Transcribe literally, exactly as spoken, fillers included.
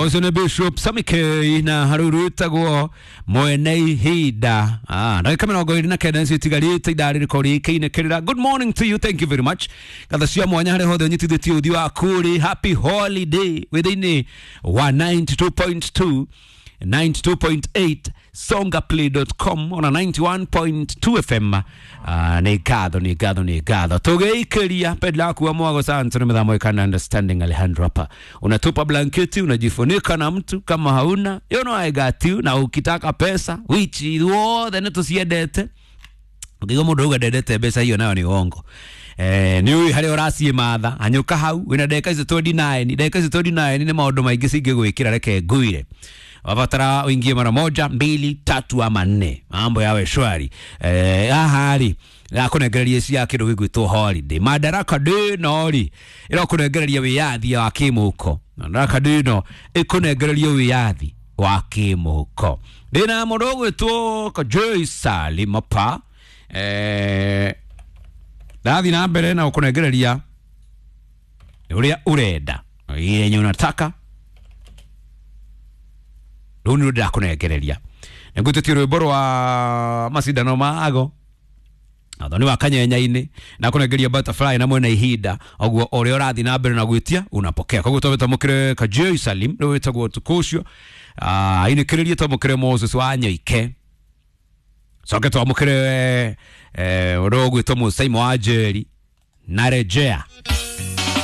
Ũcio nĩ Bishop Samike na haruru wĩtagwo mwene ihinda. Ah, ndagĩka mĩrongo ĩrĩ na kenda nĩcio itigarĩte ithaa rĩrĩkorwo rĩkĩinĩkĩrĩra. Good morning to you, thank you very much. Ngatho cia mwanya harĩa hothe ũnyitithĩtie ũthiũ waku rĩ, happy holiday wĩ thĩinĩ wa ninety two point two, ninety two point eight songaplay dot com ona ninety one point two F M. Ah, nĩ ngatho, nĩ ngatho, nĩ ngatho. Tũgĩikĩria pedla yaku wa mwago sana tuna mithamo ikana understanding Alejandro hapa. Unatupa blanketi, unajifunika na mtu kama hauna. You know I got you. Na ukitaka pesa, which ithuothe nĩ tũciendete. Ũngĩigua mũndũ auga ndendete mbeca hiyo nayo nĩ uongo. Eh, nĩ ũĩ harĩa ũraciĩmatha, hanyũka hau, wĩna ndagĩka icio twenty nine, ndagĩka icio twenty nine nĩ maũndũ maingĩ cingĩgwĩkĩra, reke ngwĩre. Wabatara uingie mara moja, mbili, tatu ama nne. Mambo yawe shwari. Eh, haha rĩ, ĩrakũnengereria cia kĩndũ gĩgwĩtwo holiday. Madaraka Day no rĩ, ĩrakũnengereria wĩyathi wa kĩmũhuko. Madaraka Day no ĩkũnengereria wĩyathi wa kĩmũhuko. Ndĩna mũndũ ũgwĩtwo Kajoi Salimapa. Eh, ndathiĩ na mbere na gũkũnengereria ũrĩa ũrenda, yenye unataka. Rĩu nĩ ndĩrakũnengereria. Nĩngwĩtĩtie rwĩmbo rwa macindano ma ago Athoni wa kanyenya-inĩ na kũnengeria butterfly na mwena ihinda ũguo ũrĩa ũrathiĩ na mbere na gwĩtia unapokea. Koguo twambe twamũkĩre Kajoi Salim rĩu wĩtagwo ũtukũ ũcio. Ah, ainĩkĩrĩrie twamũkĩre Moses wa Nyoike. Coke twamũkĩre, eh, ũrĩa ũgwĩtwo Mũsaimo wa Njeri na rejea.